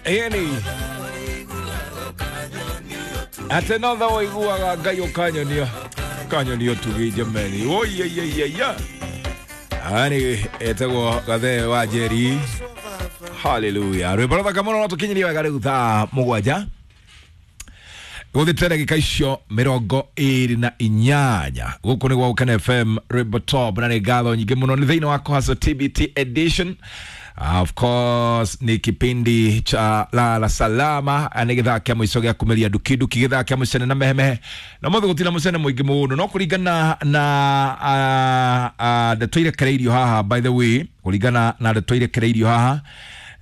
Ĩni atĩ no tha ũiguaga Ngai ũkanyonia ũkanyonia ũtugi jameni. Oiyaiyaiyaiya, ani etagwo Gathee wa Njeri. Haleluya, rwĩmbo rũthaka mũno. No tũkinyirie wega rĩu thaa 7 gũthĩte ndagĩka icio 28. Gũkũ nĩ gwa Gũkena FM, rwĩmbo top, na nĩ ngatho nyingĩ mũno. Nĩ thĩinĩ wa Kohaso TBT edition. Of course ni kipindi cha Lala Salama. Nĩ gĩthaa kĩa mũico gĩa kumĩria ndukinduki, gĩthaa kĩa mũcene na mehemehe, na mũthĩ gũtirĩ mũcene mũingĩ mũno, no kũringana na ndeto irekereirio haha, by the way, kũringana na ndeto irekereirio haha,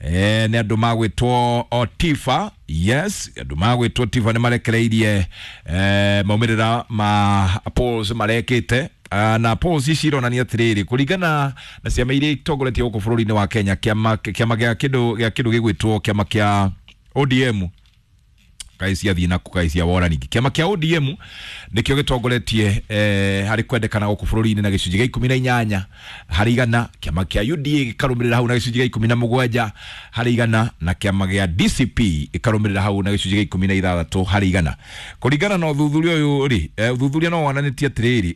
nĩ andũ magwĩtwo Tifa. Yes, andũ magwĩtwo Tifa nĩ marekereirie maumĩrĩra ma polls marekĩte. Na polls ici ironania atĩrĩrĩ, kũringana na ciama iria itongoretie gũkũ bũrũri-inĩ wa Kenya, kĩama gĩa kĩndũ gĩgwĩtwo kĩama kĩa ODM, kaĩ ciathiĩ naku, kaĩ cia wora ningĩ. Kĩama kĩa ODM nĩkĩo gĩtongoretie harĩ kwendekana gũkũ bũrũri-inĩ na gĩcunjĩ gĩa 18 harĩ igana. Kĩama kĩa UDA gĩkarũmĩrĩra hau na gĩcunjĩ gĩa 17 harĩ igana, na kĩama gĩa DCP gĩkarũmĩrĩra hau na gĩcunjĩ gĩa 16 harĩ igana. Kũringana na ũthuthuria ũyũ rĩ, ũthuthuria no wonanĩtie atĩrĩrĩ,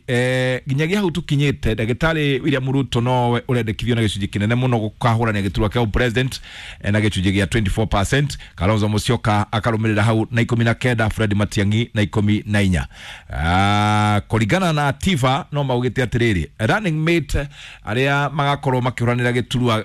nginyagia hau tũkinyĩte, ndagĩtarĩ William Ruto nowe ũrendekithio na gĩcunjĩ kĩnene mũno gũkahũrania gĩturwa kĩa president na gĩcunjĩ gĩa 24%. Kalonzo Musyoka akarũmĩrĩra hau na 19, Fred Matiang'i na 14. Kũringana na Tifa no maugĩte atĩrĩrĩ, running mate arĩa magakorwo makĩhũranĩra gĩturwa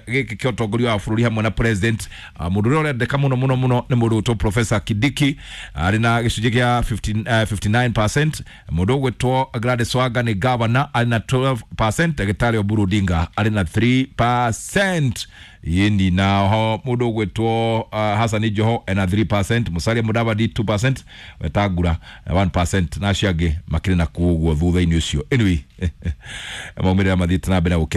gĩkĩ kĩa ũtongoria wa bũrũri hamwe na president, mũndũ ũrĩa ũrendeka mũno mũno mũno nĩ mũndũ ũgwĩtwo Professor Kindiki, arĩ na gĩcunjĩ kĩa 15, 59%. Mũndũ ũgwĩtwo Gladys Wanga nĩ governor, arĩ na 12%. Ndagĩtarĩ Oburu Odinga arĩ na 3%. Yindi na ho mũndũ ũgwĩtwo Hassan Joho ena 3%, Musalia Mudavadi 2%, Wetangula 1%, na acio angĩ makĩrĩ na kuo ũguo thutha-inĩ ũcio. Anyway, maumĩrĩra mathiĩte na mbere na gũkena.